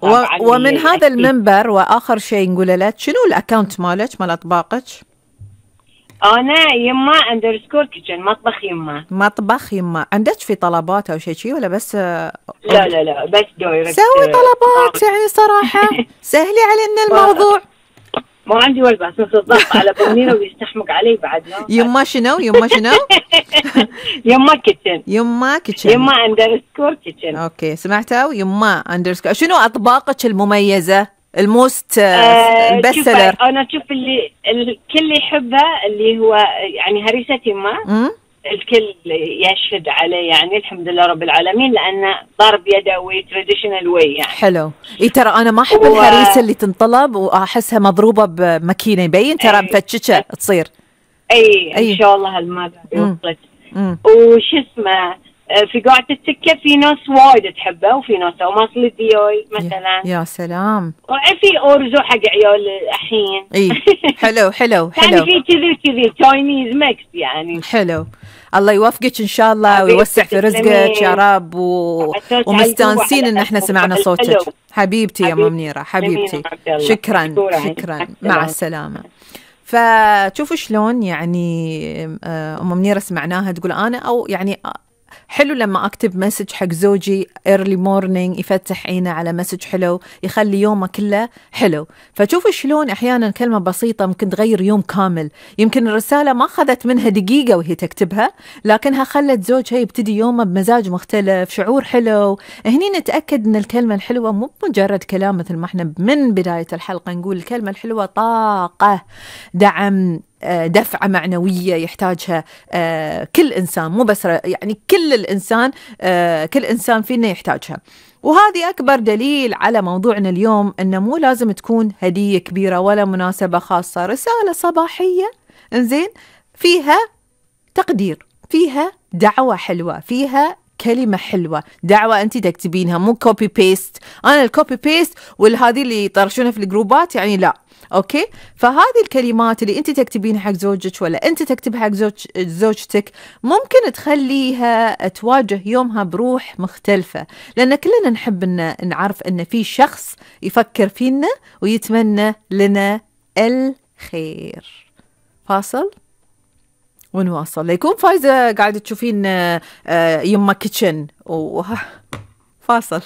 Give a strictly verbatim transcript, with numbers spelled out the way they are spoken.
و... ومن هذا المنبر وآخر شيء نقول لك شنو الأكاونت مالك مال أطباقك؟ أنا يما أندرسكور كيتشن، مطبخ يما. مطبخ يما. عندك في طلبات أو شيء شيء ولا بس؟ لا لا لا بس دايركت. سوي طلبات يعني صراحة سهلي علينا الموضوع. ما عندي وقت بس الضغط على بنينه ويستحمق علي بعد. يما شنو يما شنو؟ يما كيتشن. يما كيتشن. يما أندرسكور كيتشن. أوكي سمعتوا؟ يما أندرسكور. شنو أطباقك المميزة؟ الموست آه البستسلر. أنا شوف اللي الكل يحبها اللي هو يعني هريسة يما. الكل يشهد عليه يعني الحمد لله رب العالمين لأنه ضرب يدوي تراديشنال واي يعني. حلو. إيه ترى أنا ما أحب و... الهريسة اللي تنطلب وأحسها مضروبة بماكينة يبين ترى مفتشة تصير. أي, أي إن شاء الله هالمرة وصلت. وش اسمه في قاعة التكة في ناس وايد تحبه وفي ناس وماصل الديوي مثلا. يا سلام. وفي أورزو حق عيال الحين. إيه حلو حلو حلو. يعني في كذي كذي تشاينيز ميكس يعني. حلو. الله يوفقك إن شاء الله ويوسع في رزقك يا رب و... ومستانسين إن إحنا سمعنا صوتك. حبيبتي يا أم منيرة حبيبتي. شكرا شكرا مع السلامة. فشوفوا شلون يعني أم منيرة سمعناها تقول أنا أو يعني حلو لما أكتب مسج حق زوجي early morning يفتح عينه على مسج حلو يخلي يومه كله حلو. فشوفوا شلون أحيانا كلمة بسيطة ممكن تغير يوم كامل. يمكن الرسالة ما أخذت منها دقيقة وهي تكتبها لكنها خلت زوجها يبتدي يومه بمزاج مختلف شعور حلو. هني نتأكد أن الكلمة الحلوة مو مجرد كلام مثل ما احنا من بداية الحلقة نقول الكلمة الحلوة طاقة دعم دفعة معنوية يحتاجها كل إنسان مو بس يعني كل الإنسان كل إنسان فينا يحتاجها. وهذه أكبر دليل على موضوعنا اليوم أنه مو لازم تكون هدية كبيرة ولا مناسبة خاصة. رسالة صباحية إنزين فيها تقدير فيها دعوة حلوة فيها كلمة حلوة دعوة أنت تكتبينها مو كوبي بيست. أنا الكوبي بيست والهذه اللي يطرشونها في الجروبات يعني لا. أوكي فهذه الكلمات اللي أنت تكتبينها حق زوجك ولا أنت تكتبها حق زوج زوجتك ممكن تخليها تواجه يومها بروح مختلفة لأن كلنا نحب أن نعرف أن في شخص يفكر فينا ويتمنى لنا الخير. فاصل ونواصل. ليكون فايزة قاعدة تشوفين يما كيتشن و... فاصل.